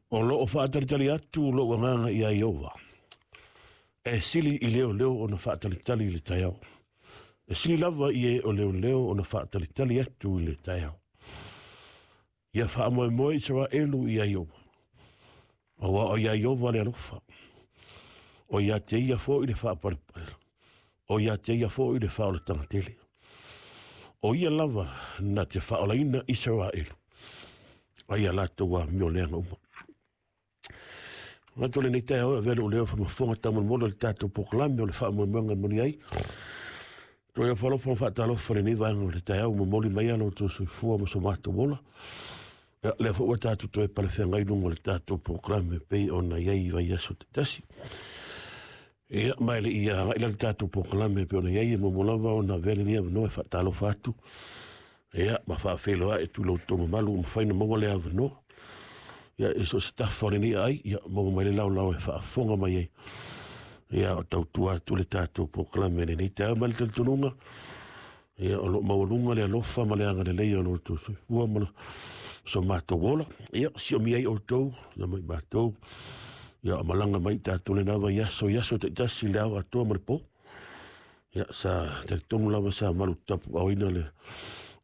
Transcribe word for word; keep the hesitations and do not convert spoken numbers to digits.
O loo faatalitali atu lou agaga iā Ieova, e sili i leoleo ona faatalitali i le taeao. E sili lava i e o leoleo ona faatalitali atu i le taeao. Ia faamoemoe Isaraelu iā Ieova, auā o iā Ieova le alofa. O ia te ia foʻi le faapalepale, o ia te ia foʻi le faaolataga tele. O ia lava na te faaolaina Isaraelu ai ia latou amio leaga uma. Manatu o lenei taeao e avea lou leo famafofoga taumolimoli o le tatou polokalame o le faamoemoega e moni ai. Toe ofo alofa ma faatalofa i lenei vaega o le taeao, momoli mai a lo outou soifua ma so matou ola. Ia, lea foi ua tatou toe palefeagai i luga o le tatou polokalame pei ona i ai i vaiaso taitasi. Ia, ma e le i agai la le tatou polokalame pei ona i ai, e muamua lava ona avea lenei avanoa e faatalofa atu, ia, ma faafeiloai atu i lo outou mamalu ua mafai ona maua le avanoa. Ia, e so o se tafa o lenei aai, ia, maua mai le laolao e faafofoga mai ai. Ia, o tautua atu le tatou polokalame i lenei taeao ma le talitonuga. Ia, o loo maualuga le alofa ma le agalelei o lo outou soifua ma so matou ola. Ia, siomia ai outou, na mai matou. Ia, o malaga mai tatou lena vaiaso i aso taitasi le ao atoa ma le po. Ia, sa talitonu lava sa malu tapuaoina le